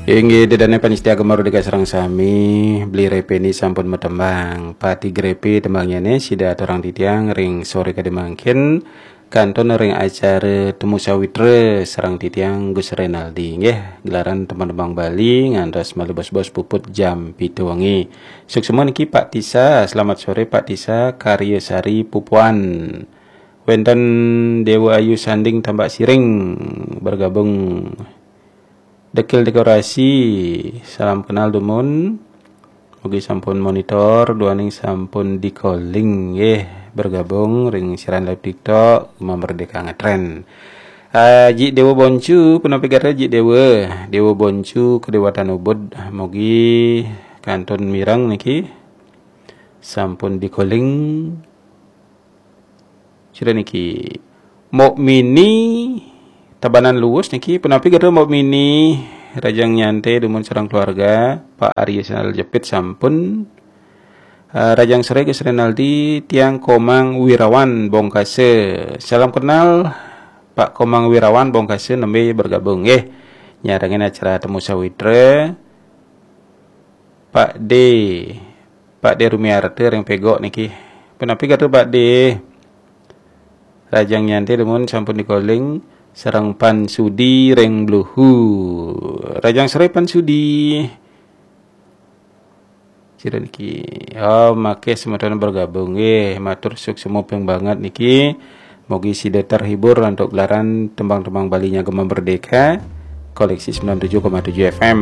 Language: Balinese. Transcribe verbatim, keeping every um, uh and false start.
Inggih, ida dané pamiarsa Gema Merdeka sareng sami, Beli Repeni sampun matembang. Pati Grepe tembangnyané sida aturang titiang ring soré kadi mangkin, kantun ring acara Temu Sawitra sareng titiang Gus Renaldi. Nggih, gelaran tembang-tembang Bali ngantos malih bos-bos puput jam pitu wengi. Suksma niki Pak Tisa, selamat sore Pak Tisa, Karya Sari Pupuan. Wénten Déwa Ayu Sanding Tambak Siring bergabung. Dekil Dekorasi, salam kenal dumun. Mugi sampun monitor, duaning sampun di-calling nggih, bergabung ring siaran live TikTok Gema Merdeka Ngetren. Ah, Ji Déwa Boncu, punapi gatra Ji Déwa? Déwa Boncu, Kedewatan Ubud, mugi kantun mireng niki. Sampun di-calling. Sira niki. Mok Mini, Tabanan Luwus niki, punapi gatra Mok Mini? Rahajeng nyantai dumun sareng keluarga, Pak Arya Sandal Jepit sampun. Eh, rahajeng sore Gus Renaldi, tiang Komang Wirawan Bongkasa. Salam kenal Pak Komang Wirawan Bongkasa, nembé bergabung nggih. Nyarengin acara Temu Sawitra. Pak D, Pak D Rumiarta ring Pegok niki. Punapi gatra Pak D? Rahajeng nyantai dumun sampun di-calling sareng Pan Sudi ring Bluhu. Rahajeng sore Pan Sudi. Sira niki. Oh, makasih semeton bergabung nggih. Matur suksma banget niki. Mugi sida terhibur antuk gelaran tembang-tembang Balinya Gema Merdeka, koleksi sembilan tujuh koma tujuh F M.